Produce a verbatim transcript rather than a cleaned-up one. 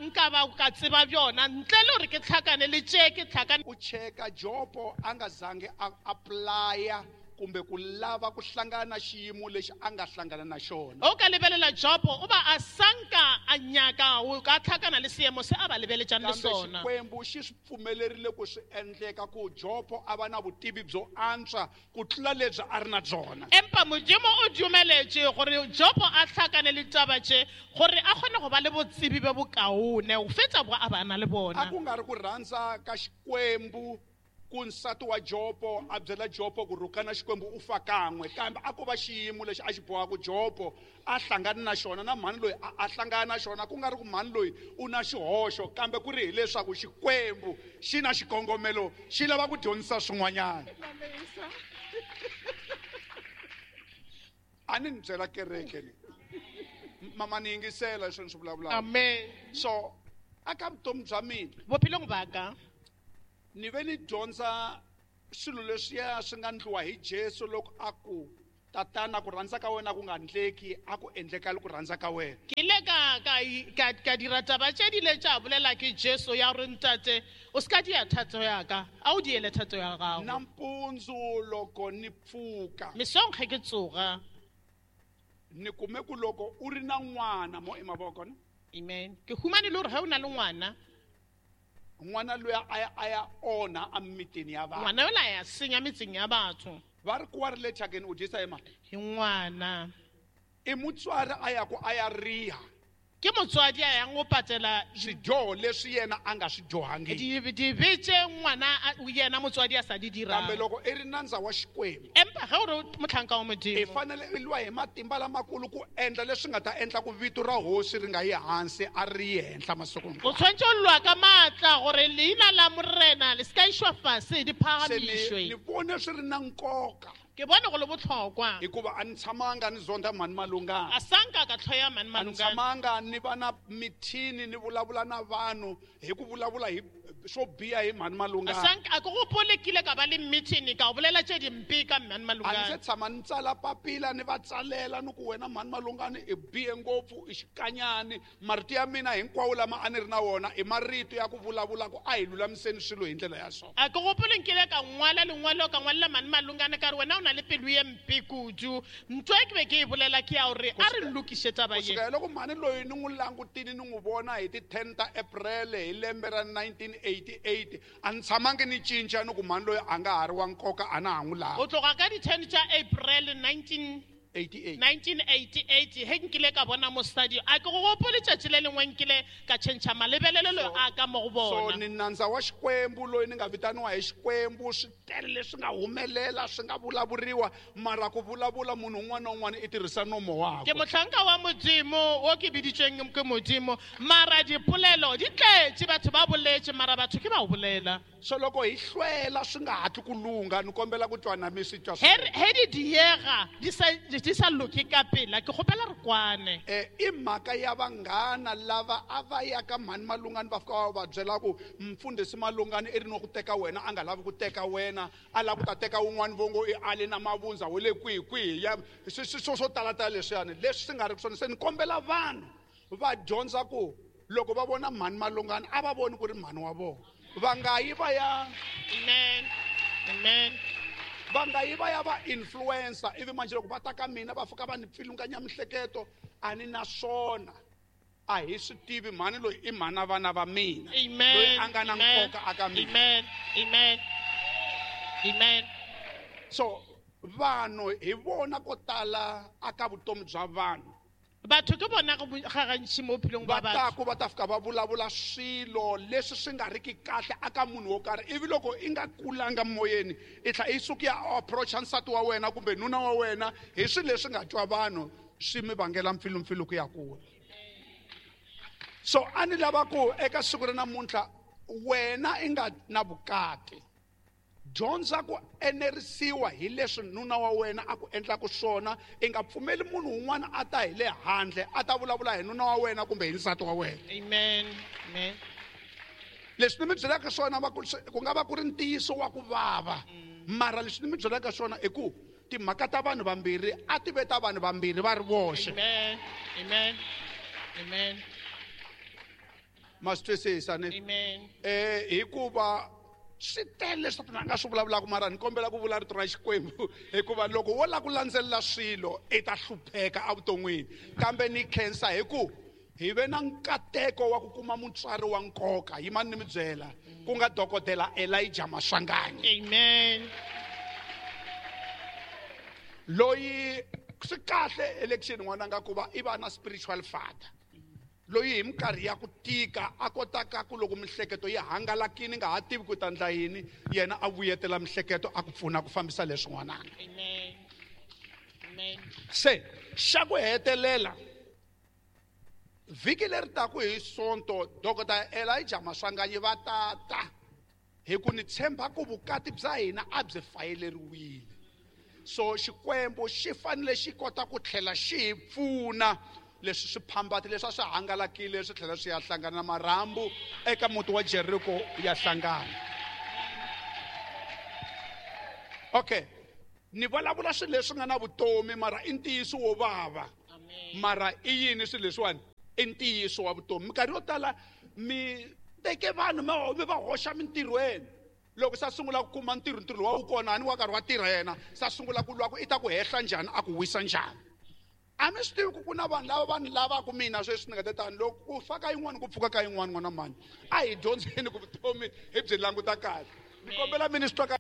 Nka ba ka tseba bjona ntle le gore ke tlhakane le tše ke tlhakane. U cheka Jopo a nga zangi a applya kumbe ku lava ku hlangana na xiyimo lexi a nga hlangana na xona. O ka lebelela Jopo o ba a sanka a nyaka o ka tlhakana le seemo se a ba lebeletšang le Kambe sona. Xikwembu xi swi pfumelerile ku swi endleka ku Jopo a va na vutivi byo antswa ku tlula lebyi a ri na byona. Empa Modimo o dumeletše gore Jopo a tlhakane le taba tše gore a kgone go ba le botsebi bo bokaone go fetsa bo a ba na le bona. A ku nga ri ku rhandza ka Xikwembu ku nsati wa Jopo a byela Jopo ku rhukana Xikwembu u fa kan'we, kambe a ko va xiyimo lexi a xi bohaka Jopo a hlangana na xona na mhani loyi a, a hlangana na xona, ku nga ri ku mhani loyi u na xihoxo, kambe ku ri hileswaku Xikwembu xi na xikongomelo, xi lava ku dyondzisa swin'wanyana. A ni ni byela kereke ni. Mama ni yingisela leswi ni swi vulavulaka. Amen. So aka vutomi bya mina, bophelong ba ka, ni ve ni dyondza swilo leswiya swi nga ndliwa hi Jesu loko a ku tatana ku rhandza ka wena ku nga ndleki, a ku endlekali ku rhandza ka wena. Ke ile ka, ka, ka, ka dira taba tše di ile tša bolela ke Jesu ya gore ntate o se ka dia thato ya ka, a o diele thato ya gago. Nampundzu loko ni pfuka, mesong ge ke tsoga, ni kume ku loko u ri na n'wana mo emavoko ne? Amen. Ke humane le gore ge o na le ngwana, ngwana loyi a ya, a ya onha a mitini ya vanhu. Ngwana yola a ya senya metseng ya batho. Va ri ku wa ri le thyakeni u dyisa hi mani? Hi ngwana. I mutswari a ya ku a ya riha. Ke motswadi a yang go patela swidyoho leswi yena a nga swi dyohangiki. Di-, dibe tše ngwana a, yena motswadi a sa di dirang. Kambe loko i ri nandza wa Xikwembu, Empa ge o re mohlanka wa Modimo, i fanele i lwa hi matimba lamakulu ku endla leswi nga ta endla ku vito ra hosi ri nga yi hansi, a ri yi henhla masiku hinkwawo. O tshwanetse o lwa ka maatla gore leina la Morena le se ka išwa fase, di Se ni, phagamišwe. ni vone swi ri na nkoka. Ke bone go le bohlokwa. Hikuva a ni tshamanga ni zonda mhani Malungana. A sanka ka tlhoya mhani A ni Malungana. tshamanga ni va na mithini ni vulavula na vanhu hi ku vulavula hi swo biha hi mhani Malungana. A sanka, a ke gopole ke ile ka ba le meeting ka bolela tše dimpe ka mhani A ni Malungana. se tshama ni tsala papila ni va tsalela ni ku wena mhani Malungana i bihe ngopfu, i xikanyani. Marito ya mina hinkwawo lama a ni ri na wona i marito ya ku vulavula ku a hi lulamiseni swilo hi ndlela ya so. A ke gopole nkile ka ngwala lengwalo ka ngwalela mhani Malungana ka re wena o na le pelo ye mpe kudu. Ntho e ke be ke e bolela ke ya gore a re lokiše taba ye. Ku sukela loko mhani loyi ni n'wi langutile ni n'wi vona hi ti ten ta April hi lembe ra nineteen eighty-eight, a ni tshamangi ni cinca ni ku mhani loyi a nga ha ri wa nkoka, a na ha n'wi lavi. O tloga ka di ten tša April nineteen eighty-eight. nineteen eighty-eight, he nkile ka bona mosadi, a ke go gopole tšatši le lengwe nkile ka tšhentšha malebelelo So, a ka mo go so bona. ni nandza wa Xikwembu loyi ni nga vitaniwa hi Xikwembu, swi tele leswi nga humelela, swi nga vulavuriwa, mara ku vulavula munhu un'wana na un'wana i tirhisa nomo wakwe. Ke mohlanka wa Modimo, wo ke biditšweng ke Modimo, mara dipolelo di tletše, batho ba boletše, mara batho ke ba go bolela. So loko hi hlwela swi nga hatli ku lungha, ni kombela ku twa na mi swi twa He re, he di diega, di sa, di sa loke ka pela, ke kgopela re kwane. Eh, i mhaka ya vanghana lava a va ya ka mhani Malungana va fika va va byela ku mfundhisi Malungana i ri no ku teka wena, a nga lavi ku teka wena, a lava ku ta teka wun'wani vo ngo i ale na mavundza wa le kwihi kwihi, ya, swi, swi, swo, swo talatala leswiyani, leswi swi nga ri swona. Se ni kombela vanhu va dyondza ku loko va vona mhani Malungana a va voni ku ri mhani wa vona. Va nga yi va ya Amen. Amen. Va nga yi va ya va influencer, ivi manje loko va ta ka mina va fika va ni pfilunganya mihleketo, a ni na swona. A hi swi tivi mhani loyi i mhana vana va mina. Amen. Loyi a nga na Amen. nkoka aka mina. Amen. Amen. Amen. So vanhu hi vona ko tala aka vutomi bya vanhu. Batho ke bona go bo-, ga gantši mo bophelong ba Va batho. ta ku va ta fika va vulavula swilo leswi swi nga riki kahle aka munhu wo karhi, ivi loko i nga kulanga moyeni i tlhela i suka ya approacha nsati wa wena kumbe nuna wa wena hi swilo leswi nga twa vanhu swi mi vangela mpfilumpfilu ku ya kula. So a ni lava ku eka siku ra namuntlha wena i nga na vukati, dyondza ku enerisiwa hi leswi nuna wa wena a ku endlaka swona. I nga pfumeli munhu un'wana a ta hi le handle a ta vulavula hi nuna wa wena kumbe hi nsati wa wena. Amen. Amen. Leswi ni mi byelaka swona va ku, ku nga va ku ri ntiyiso wa ku vava, mara leswi ni mi byelaka swona i ku timhaka ta vanhu vambirhi a ti ve ta vanhu vambirhi va ri voxe. Amen. Amen. Amen. Ma swi twisisa ni? Amen. Eh hikuva swi tele leswi Sathana a nga swi vulavulaka mara ni kombela ku vula rito ra Xikwembu hikuva loko wo lava ku landzelela swilo i ta hlupheka evuton'wini. Kambe ni khensa hi ku hi ve na nkateko wa ku kuma mutswari wa nkoka, yimani ni mi byela, ku nga dokodela Elijah Maswanganyi. Amen. Loyi swi kahle election n'wananga ku va i va na spiritual father. Loyi hi minkarhi ya ku tika a kotaka ku loko mihleketo yi hangalakile nga ha tivi ku ta endla yini, yena a vuyetela mihleketo a ku pfuna ku fambisa leswi n'wananga. Amen. Amen. Se xa ku hetelela vhiki leri taku hi Sonto Doctor Elijah Maswanganyi va tata hi ku ni tshemba ku vukati bya hina a byi fayeleriwile. So Xikwembu xi fanele xi kota ku tlhela xi hi pfuna leswi swiphambati leswi a swi hangalakile swi tlhela swi ya hlangana na marhambu eka muti wa Jericho ya hlangana. Okay, ni vulavula swilo leswi nga na vutomi mara i ntiyiso wo vava. Mara i yini swilo leswiwani? I ntiyiso wa vutomi. Minkarhi yo tala mi teke vanhu mi va hoxa mintirhweni. Loko sa sungula ku kuma ntirho, ntirho wa wu kona ni wa karhi wa tirha yena, sa sungula ku lwa ku i ta ku hehla njhani, a ku wisa njhani. A mi swi tivi ku ku na vanhu lava vanhu lavaka mina sweswi ni nga ta tani loko ku fa ka yin'wana ku pfuka ka yin'wana n'wana mani. A hi dyondzeni ku vutomi hi byi languta kahle. Ni kombela mi ni swi twa ka